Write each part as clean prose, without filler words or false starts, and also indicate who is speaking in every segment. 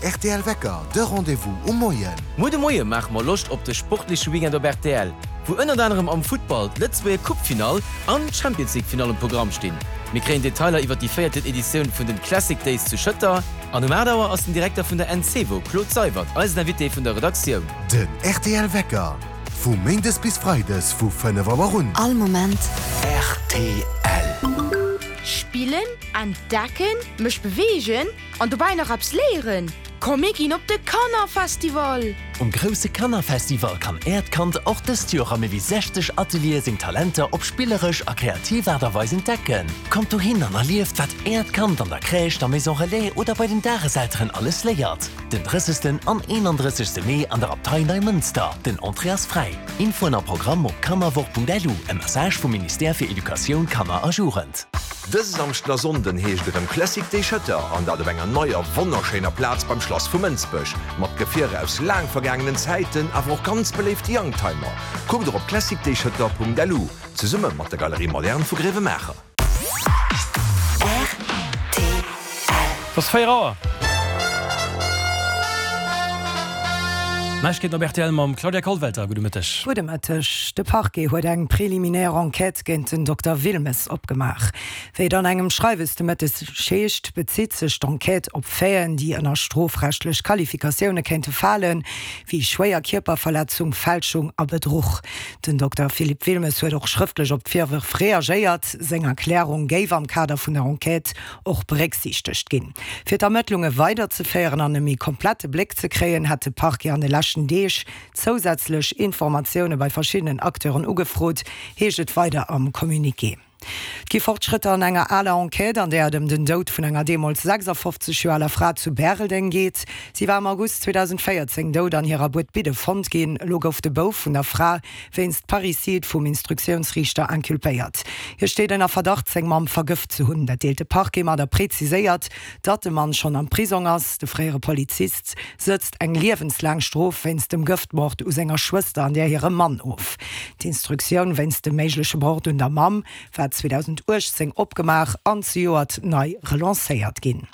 Speaker 1: rtl Wecker, de Rendez-vous um Moien.
Speaker 2: Muer de Moie maache mer Loscht op de sportleche Weekend op rtl, wou ënnert anerem am Futtball d'Lëtzebuerger Coupe-Finall an d'Champions League-Finall um Programm stinn. Mir kréien Detailer iwwer déi véierten Editioun vun den Classic Days zu Schëtter an um 8 Auer ass den Direkter vun der Encevo, Claude Seywert, eisen Invité vun der Redaktioun.
Speaker 1: Den rtl Wecker, vu Méindes bis Freides vu 5 Auer un.
Speaker 3: All Moment.
Speaker 1: Rtl.
Speaker 4: Spillen, entdecken, mech beweegen an dobäi nach eppes léieren? Komm mir ginn op de Kannerfestival!
Speaker 5: Um grousse Kannerfestival kann Äert Kand och dëst Joer a méi wéi 60 Ateliere seng Talenter op spilleresch a kreativ Aart a Weis entdecken. Kommt dohin an erlieft, wat Äert Kand an der Crèche, der Maison Relais oder bei den Dageselteren alles léiert. Den 30. an 31. Mee an der Abtei Neimënster. Den Entrée ass fräi. Infoen a Programm op kannerwoch.lu, e Message vum Ministère fir Educatioun, Kanner a Jugend.
Speaker 6: Dëse Samschden a Sonnden heescht et erëm Classic Day Schëtter an dat op enger neier wonnerschéiner Plaz beim Schlass vu Mënsbech. Mat Gefierer aus laang vergaangenen Zäiten, awer och ganz beléifte Youngtimer. Kuckt och op classicdayschëtter.lu, zesumme mat der Galerie Moderne vu Gréiwemaacher.
Speaker 7: Et ass 4 Auer. Neiegkeeten op rtl mam Claudia Kollwelter. Gudde Mëtteg.
Speaker 8: Gudde Mëtteg. De Parquet huet eng préliminaire Enquête géint den Dokter Wilmes opgemaach. Wéi et an engem Schreiwes de Mëtteg heescht, bezitt sech d'Enquête op Faiten, déi ënner strofrechtlech Qualifikatioune kéinte falen, wéi schwéier Kierperverletzung, Fälschung a Bedruch. Den Dokter Philippe Wilmes huet och schrëftlech op d'Virwërf reagéiert. Seng Erklärung géif am Kader vun der Enquête och berécksiichtegt ginn. Fir d'Ermëttlunge weiderzeféieren an e méi komplette Bléck ze kréien, hätt de Parquet an de leschten Deeg zousätzlech Informatioune bei verschiddenen Acteuren ugefrot, heescht et weider am Communiqué. Et gi Fortschrëtter an enger aler Enquête, an där et ëm den Doud vun enger deemools 56 Joer aler Fra zu Bäreldeng geet. Si war am August 2014 dout an hirer Buedbidde fonnt ginn. Elo gouf de Bouf vun der Fra wéinst Parricide vum Instruktiounsriichter inculpéiert. Hie steet ënner Verdacht, seng Mamm vergëft ze hunn. Dat deelt de Parquet mat a preziséiert, datt de Mann schonn am Prisong ass. De fréiere Polizist sëtzt eng liewenslaang Strof wéinst dem Gëftmord u senger Schwëster an där hirem Mann of. D'Instruktioun wéinst dem méigleche Mord un der Mamm war 2018 opgemaach an zejoert nei relancéiert ginn.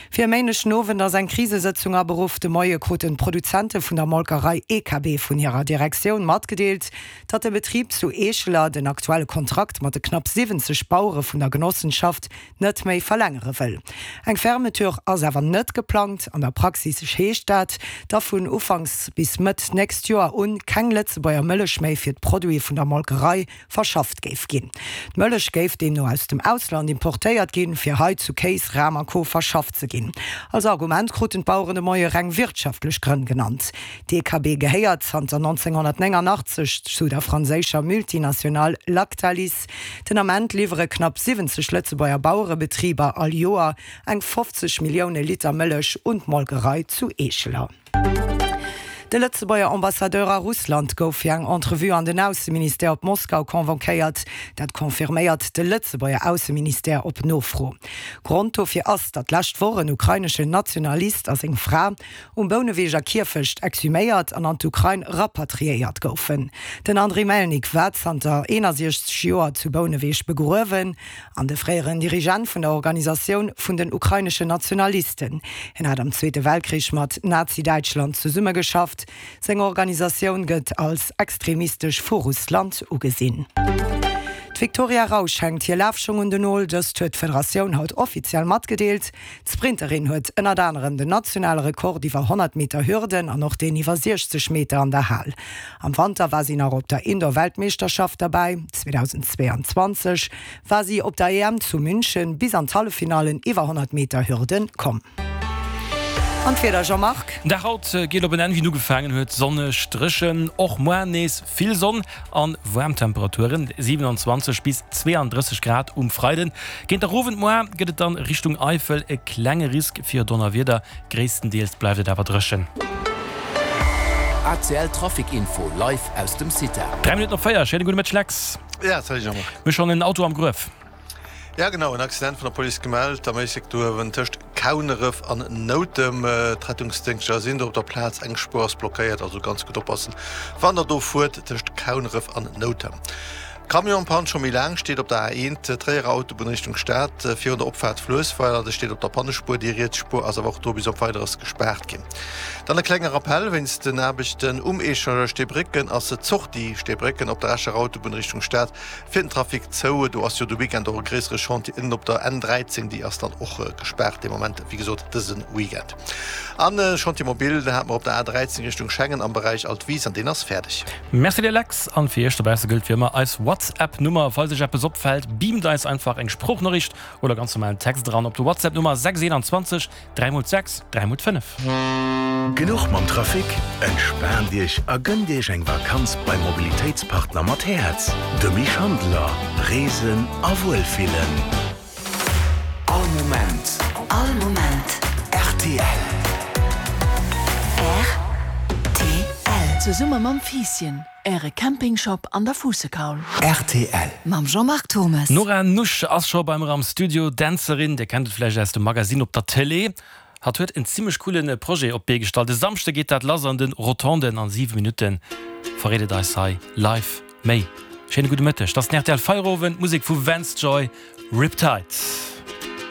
Speaker 8: Fir e Méindeg den Owend ass eng Krisesëtzung aberuff. De Moie kruten d'Produzente vun der Molkerei EKB vun hirer Direktioun matgedeelt, datt de Betrib zu Eescheler den aktuelle Kontrakt mat de knapp 70 Bauere vun der Genossenschaft net méi verlängere wëll. Eng Fermeture ass awer net geplangt. An der Praxis heescht dat, da vun Ufanks bis Mëtt nächst Joer un keng Lëtzebuerger Mëllech méi fir d'Produite vun der Molkerei verschafft géif ginn. D'Mëllech géif deemno aus dem Ausland importéiert ginn, fir hei zu Kéis, Ram a Co. Verschafft ze ginn. Als Argument kruten d'Baueren de Moie reng wirtschaftlech Grënn genannt. D'DKB gehéiert zanter 1989 zu der franséischer Multinationale Lactalis. Den Ament liwwere knapp 70 Lëtzebuerger Bauerebetriber all Joer eng 50 Millioune Liter Mëllech un d'Molkerei zu Eescheler. De Lëtzebuerger Ambassadeur a Russland gouf fir eng Entrevue an den Ausseministère op Moskau convoquéiert. Dat confirméiert de Lëtzebuerger Ausseministère op Nofro. Grond dofir ass, datt d'lescht Woch en ukraineschen Nationalist a seng Fra um Bouneweger Kierfecht exhuméiert an an d'Ukrain rapatriéiert goufen. Den Andriy Melnik war zanter 61 Joer zu Bouneweg begruewen. An de fréieren Dirigent vun der Organisatioun vun den ukraineschen Nationalisten. Hien hat am Zweete Weltkrich mat Nazi-Däitschland zesummegeschafft. Seng Organisatioun gëtt als extremistesch vu Russland ugesinn. D'Victoria Rausch hänkt hir Lafschong un den Nol. Dëst huet d'Federatioun haut offiziell matgedeelt. D'Sprinterin huet ënnert anerem den nationale Rekord iwwer 100 Meter Hürden an och deen iwwer 60 Meter an der Hal. Am Wanter war si nach op der Indoor-Weltmeeschterschaft derbäi. 2022 war si op der EM zu München bis an d'Halleffinallen iwwer 100 Meter Hürden komm. An d'Wieder, Jean-Marc?
Speaker 7: Den Dag haut geet op en Enn wéi en ugefaangen huet, sonneg, dréchen, och moar nees vill Sonn an waarm Temperaturen, 27 bis 32 Grad um Freiden. Géint der Owend moar gëtt et dann Richtung Eifel e klenge Risk fir Donnerwieder, Gréisstendeels bleift et awer dréchen.
Speaker 5: ACL Trafic Info live aus dem CITA.
Speaker 7: 3 Minutten op 4, schéine gudde Mëtteg Lex.
Speaker 9: Ja, salut Jean-Marc.
Speaker 7: Mir hu schonn en Auto am Gruef.
Speaker 9: Ja genau, en Accident vun der Police gemellt am Éislek do uewen tëscht Kauneref an Noutem. D'Rettungsdéngschter sinn do op der Plaz, eng Spuer ass blockéiert, also ganz gutt oppassen wann der do fuert tëscht Kauneref an Noutem. Camion-Pann scho méi laang, steet op der A1, Tréierer Autobunn Richtung Stad, virun der Opfaart Fluessweiler. De steet op der Pannespuer, déi riets Spuer ass awer och do bis op Weideres gespaart ginn. Dann e klenge Rappell, Wéinst den Aarbechten um Echangeur Steebrécken ass d'Sortie Steebrécken op der Escher Autobunn Richtung Stad fir den Trafic zou. Do ass jo de Weekend och e gréissere Chantier ënnen op der N13, déi ass dann och gespaart dee Moment, wéi gesot dëse Weekend. An e Chantier mobile, den hate mer op der A13 Richtung Schengen am Beräich Altwis an deen ass fäerdeg.
Speaker 7: Merci dir Lex, an fir iech dobausse gëllt wéi ëmmer eis WhatsApp Nummer. Falls iech eppes opfält, beamt eis einfach eng Sproochnoriicht oder ganz normalen Text eran op de WhatsApp Nummer 6 21 3 x 6 3 x 5.
Speaker 1: Genuch mam Trafic? Entspaant Iech a gënnt Iech eng Vakanz beim Mobilitéitspartner mat Häerz, de Mich Handeler. Reesen a Wuelfillen.
Speaker 3: All Moment.
Speaker 10: All Moment.
Speaker 3: Rtl.
Speaker 10: Rtl.
Speaker 11: Zesumme mam Fiisschen, Äre Campingshop an der Fuussekaul.
Speaker 3: Rtl.
Speaker 10: Mam Jean-Marc Thommes.
Speaker 7: D'Nora Nusch ass scho bei mer am Studio, Dänzerin, Dir kennt et vläicht aus dem Magasinn op der Télé. Hatt huet en zimmlech coole Projet op d'Bee gestallt. E Samschde geet dat lass an de Rotonden. An 7 Minutte verréit et eis hei live méi. Schéine gudde Mëtteg, 't ass den rtl Feierowend, Musek vu Vance Joy, Riptide.